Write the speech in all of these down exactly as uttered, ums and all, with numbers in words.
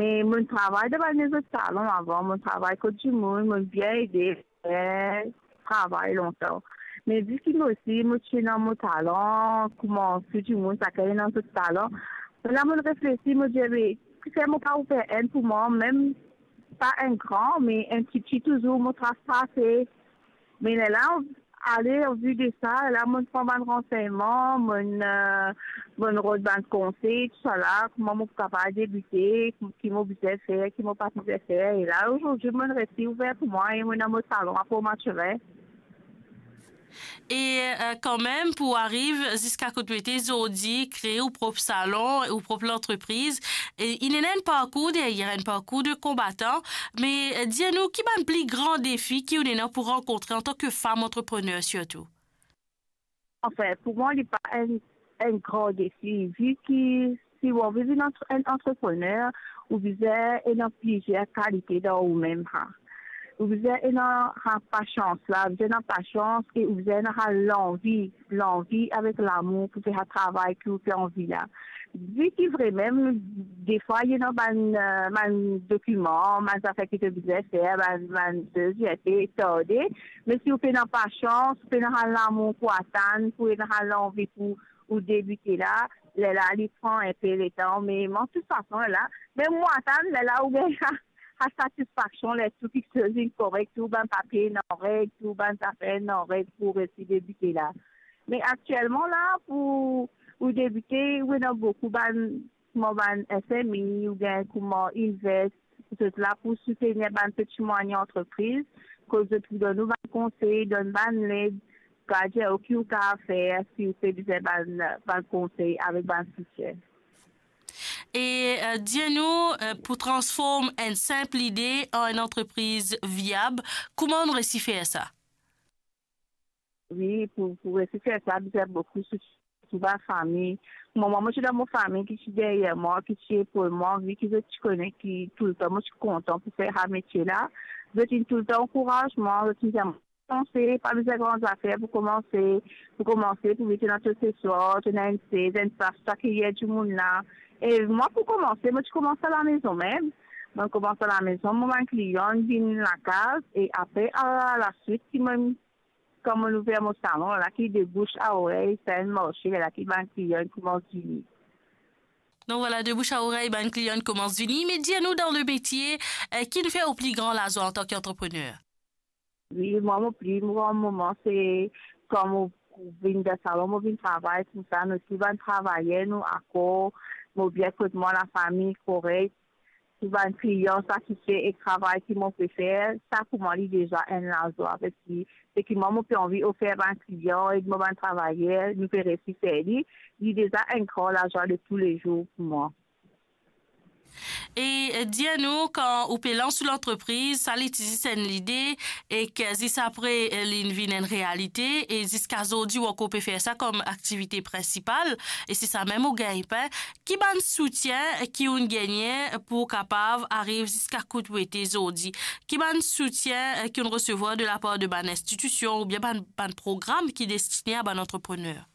Me mo'nn travay dan bann lezot salon avan, mo'nn travay kot dimoun, mo'nn bien ede, eh, travay lontan. Me vi ki mo osi, mo ti ena mo talan, kouma tou dimoun, sakenn ena zot talan. La mo'nn reflesi, mo dir, be, kifer mo pa ouver enn pou mwa, mem pa enn gran, me enn tipti touzour, mo tras pase. Me lerla, ale, an vi de sa, la mo'nn pran bann ransegnman, mo'nn, eh, mo'nn rod bann konsey, tousala, kouma mo pou kapav debite, ki mo bizin fer, ki mo pa bizin fer. E la, azordi, mo'nn resi ouver pou mwa e mo ena mo salon a Port Mathurin. E, eh, kanmem, pou ariv ziska kot ou ete zordi, kree ou prop salon, ou prop lantrepriz, e inn ena enn parkour deryer, enn parkour de konbatan. Me, eh, dir nou, ki bann pli gran defi ki ou'nn ena pou rankontre antan ki fam antreprener sirtou? Anfin, pou mwa, li pa enn, enn gran defi, vi ki si ou anvi vinn antre-, enn antreprener, ou bizin ena plizier kalite dan oumem, ha. Ou bizin ena, ha, pasians la, bizin ena pasians e ou bizin ena, ha, lanvi, lanvi avek lamour pou fer sa travay ki ou pe anvi la. Vi ki vremem, defwa, ena bann, eh, bann dokiman, bann zafer ki to bizin fer, bann, bann sez, li pe tarde. Me si ou pena pasians, ou pena lamour pou atann, pou ena lanvi pou ou debite la, lerla li pran enpe letan, me, me de tout fason, la, mem mwa atann, lerla ou gagn sa, sa satisfaksion, ler tou kiksoz inn korek, tou bann papie inn an reg, tou bann zafer inn an reg pou resi debite la. Me aktielman la, pou ou debite, ou ena boukou bann, kouma bann S M E, oubien kouma Invest, zot la pou soutenir bann peti mwayin antrepriz, kot zot pou donn ou bann konsey, donn bann led, kapav dir ou ki ou kapav fer si ou pe bizin bann, bann konsey avek bann soutien. E, eh, dir nou, eh, pou transform enn sinp lide an enn antrepriz viab, kouma ou'nn resi fer sa? Wi, pou, pou resi fer sa, bizin boukou soutien, sirtou bann fami. Mo mama, mo ti dan mo fami ki ti deryer mwa, ki ti epaul mwa, vi ki zot ti kone ki toultan mo ti kontan pou fer sa metie la. Zot inn toultan ankouraz mwa, zot inn dir mwa, komanse, pa bizin gran zafer pou komanse, pou komanse, pou met ena to seswar, to ena enn sez, enn plas, to akeyer dimoun la. E mwa, pou komanse, mo ti koumans alamezon mem. Mo koumans alamezon, mo bann klian vinn lakaz, e apre, alaswit, ki mo, kan mo'nn ouver mo salon, la ki de bouche à oreille, sa inn marse, la ki bann klian koumans vini. Donk vwala, de bouche à oreille, bann klian koumans vini. Me dir nou, dan le metie, eh, ki'nn fer ou pli gran lazwa antan ki antreprener? Wi, mwa, mo pli gran moman, se kan mo vinn dan salon, mo vinn travay, koumsa, nou tou bann travayer, nou akor, mo bien kot mwa, lafami korek, tou bann klian satisfe ek travay ki mo pe fer, sa pou mwa li deza enn lazwa, parski se ki mwa mo pe anvi ofer bann klian ek mo bann travayer, nou pe resi fer li, li deza enn gran lazwa de toulezour pou mwa. E, eh, dir nou, kan ou pe lans ou lantrepriz, sa li ti zis enn lide, ek zis apre, eh, li'nn vinn enn realite, e ziska zordi ou ankor pe fer sa kom aktivite prinsipal, e se sa mem ou gagn pin. Ki bann soutien ki ou'nn gagne pou ou kapav ariv ziska kot ou ete zordi? Ki bann soutien, eh, ki ou'nn resevwar de lapar de bann institision oubien bann, bann program ki destine a bann antreprener?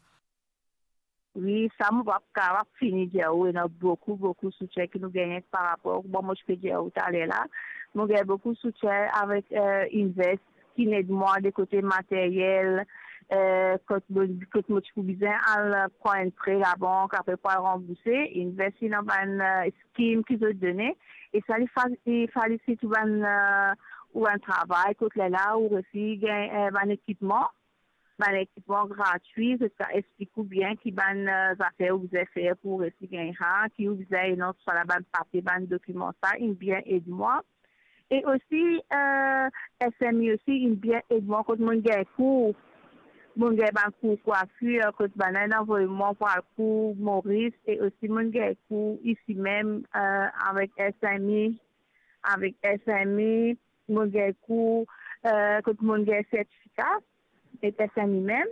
Wi, sa mo pa kapav fini dir ou, ena boukou, boukou soutien ki nou gagne par rapor, bon, mo ti pe dir ou taler la, mo gagn boukou soutien avek, eh, Invest, ki'nn ed mwa de kote materyel, eh, kot mo, kot mo ti pou bizin al pran enn pre labank, apre pou al ranbourse, Invest ena bann, eh, skim ki zot done, e sa li fa-, li falisit ou bann, eh, ou bann travay, kot lerla ou resi gagn, eh, bann ekipman, bann ekipman gratwi, zot sa explik ou bien ki bann, eh, zafer ou bizin fer pou resi gagn sa, ki ou bizin ena, tousala, bann papie, bann dokiman, sa inn bien ed mwa. E osi, eh, S M E osi inn bien ed mwa kot mo'nn gagn kour. Mo'nn gagn bann kour kwafir, kot bann-la inn avoy mwa pou al kour Moris, e osi mo'nn gagn kour isi mem, eh, avek S M E, avek S M E, mo'nn gagn kour, eh, kot mo'nn gagn sertifika, e S M E mem.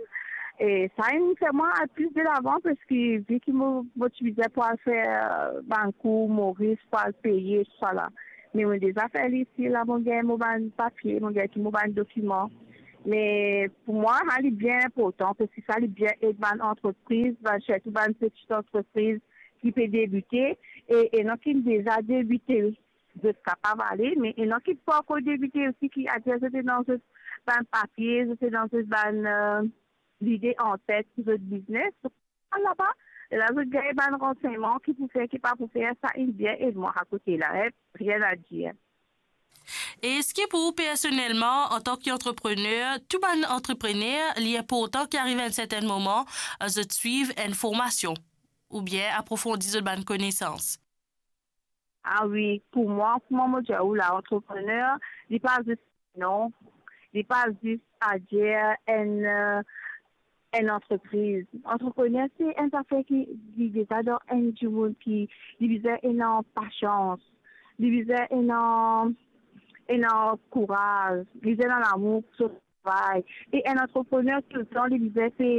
E sa inn fer mwa al plis delavan, parski vi ki mo, mo ti bizin pou al fer, eh, bann kour Moris, pou al peye, tousala. Me mo'nn deza fer li isi, la mo'nn gagn mo bann papie, mo'nn gagn tou mo bann dokiman. Me pou mwa, sa li bien inportan, parski sa li bien ed bann antrepriz, bann, sirtou bann peti antrepriz ki pe debite, E, e ena ki deza debite, zot kapav ale, me ena ki pankor debite osi, ki adir zot ena zot bann papie, zot ena zot bann, eh, lide antet pou zot biznes. Laba, la zot gagn bann ransegnman ki pou fer, ki pa pou fer, sa inn bien ed mwa akote la, eh, rien à dire. E eski pou ou personelman, antan ki antreprener, tou bann antreprener, li inportan ki ariv enn sertenn moman, zot swiv enn formasion oubien aprofondi zot bann konesans? Ah wi, pou mwa, kouma mo dir ou la, antreprener, li pa zis non, li pa zis adir enn, eh, enn antrepriz. Antreprener, se enn zafer ki, ki deza dan enn dimoun ki, li bizin ena pasians, li bizin ena, ena kouraz, li bizin ena lamour pou so travay. E enn antreprener, toultan, li bizin pe,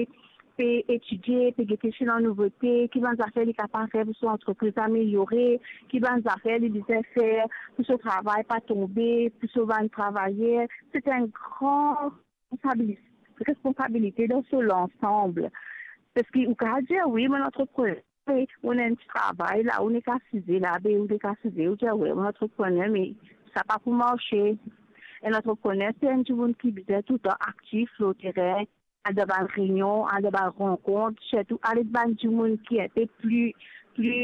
pe etidie, pe gete si ena nouvote, ki bann zafer li kapav fer pou so antrepriz ameliore, ki bann zafer li bizin fer pou so travay pa tonbe, pou so bann travayer. Se enn gran responsabili-, responsabilite dan so lansanm. Parski ou kapav dir, wi, mo antreprener, me mo ena enn ti travay la, ou nek asize la, be ou nek asize, ou dir, wi, mo antreprener, me sa pa pou marse. Enn antreprener, se enn dimoun ki bizin toultan aktif lor terin, al dan bann reynion, al dan bann rankont, sirtou al ed bann dimoun ki enpe pli, pli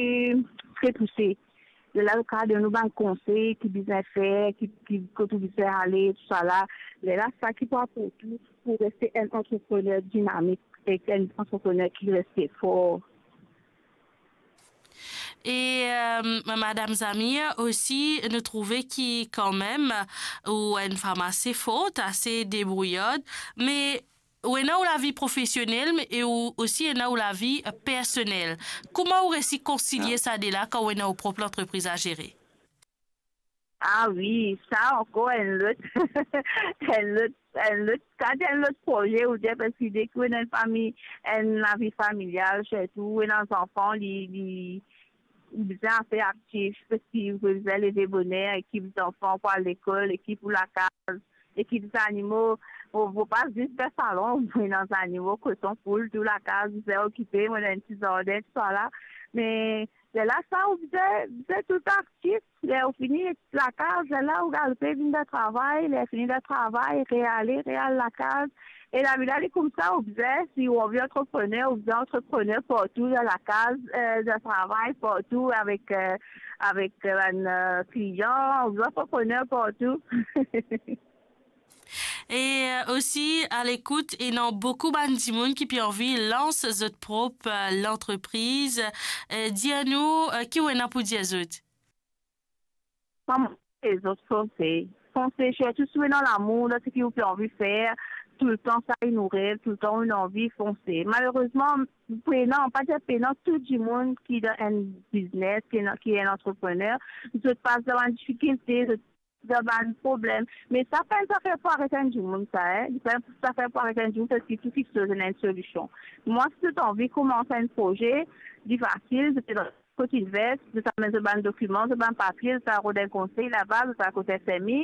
tre pouse. Lerla, nou kapav donn ou bann konsey ki bizin fer, ki, ki, kot ou bizin ale, tousala. Lerla, sa ki pou aport ou pou reste enn antreprener dinamik ek enn antreprener ki reste for. E, eh, Madam Zamir, osi, nou trouve ki kanmem, ou enn fanm ase for, ase debrouyard, me ou ena ou lavi profesionel, me, e ou osi ena ou lavi, eh, personel. Kouma ou resi konsilie sa de la kan ou ena ou prop lantrepriz a zere? Ah wi, sa ankor enn lot, enn lot, enn lot, sa enn lot proze, ou dir, parski deki ou ena enn fami, enn lavi familial, sirtou ou ena zanfan, li, li, ou bizin ase aktif, parski ou bizin leve boner, ekip zanfan pou al lekol, ekip ou lakaz, ekip zanimo. Mo, mo pa zis dan salon, mo ena zanimo, koson, poul, tou lakaz, bizin okipe, mo ena enn ti zardin, tousala. Me lerla sa, ou bizin, bizin toultan aktif. Ler ou fini lakaz, lerla ou galoupe vinn dan travay, ler fini dan travay, reale, real lakaz. E lavi la, li koumsa, ou bizin, si ou anvi antreprener, ou bizin antreprener partou, dan lakaz, eh, dan travay, partou, avek, eh, avek, eh, bann, eh, klian, ou bizin antreprener partou. E, eh, osi, a lekout, ena boukou bann dimoun ki pe anvi lans zot prop, eh, lantrepriz. Eh, dir nou, eh, ki ou ena pou dir zot? Kouma dir zot, fonse. Fonse, sirtou si ou ena lamour dan seki ou pe anvi fer, toultan sa inn ou rev, toultan ou ena anvi, fonse. Malerezman, pena, pa dir pena, tou dimoun ki dan enn biznes, ki ena, ki enn antreprener, zot pas dan bann difikilte, zot dan bann problem. Me sa pa enn zafer pou aret enn dimoun sa, eh. Li pa enn zafer pou aret enn dimoun, parski tou kiksoz ena enn solision. Mwa, si zot anvi koumans enn proze, li fasil, zot ena kot Invest, zot amenn zot bann dokiman, zot bann papie, zot al rod enn konsey laba, zot al kot S M I,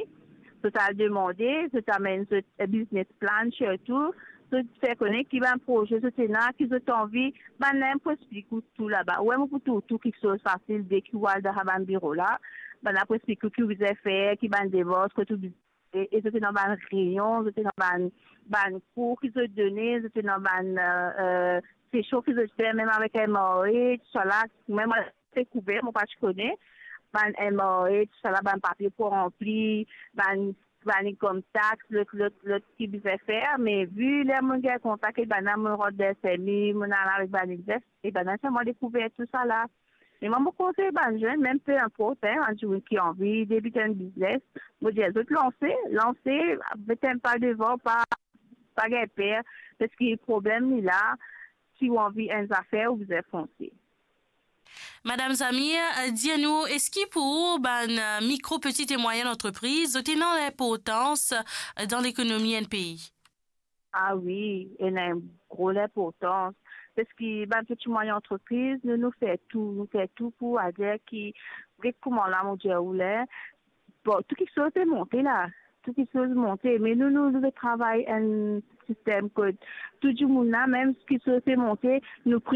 zot al demande, zot amenn zot, eh, business plan sirtou, zot fer kone ki bann proze zot ena, ki zot anvi, bann la pou explik ou tou laba. Ou mem pou trouv tou kiksoz fasil deki ou al dan sa bann biro la. Bann la pou explik ou ki ou bizin fer, ki bann demars, kot ou bizin e, e zot ena bann reynion, zot ena bann, bann kour ki zot done, zot ena bann, eh, eh, sesion ki zot fer, mem avek M R A, tousala, mem mwa, se kouver, mo pa ti kone, bann M R A, tousala, bann papie pou ranpli, bann, bann income tax, lot, lot, lot ki bizin fer, me vi ler mo gagn kontak ek bann la, mo rant dan S M I, mo al avek bann Invest, e bann la fer mwa dekouver tousala. Me mwa, mo konsey bann zenn, mem pe inport, hein, bann dimoun ki anvi debit enn biznes, mo dir zot lanse, lanse, met enn pa devan, pa, pa gagn per, parski problem li la, si ou anvi enn zafer, ou bizin fonse. Madam Zamir, eh, dir nou, eski pou ou, bann, eh, mikro, petit e mwayenn antrepriz, zot ena linportans, eh, dan lekonomi enn pei? Ah wi, ena enn gro linportans. Parski bann peti mwayenn antrepriz, nou, nou fer tou, nou fer tou pou adir ki, get kouma la, mo dir ou la, bon, tou kiksoz pe monte la, tou kiksoz monte, me nou, nou, nou pe travay enn sistem kot tou dimoun la, mem kiksoz pe monte, nou pri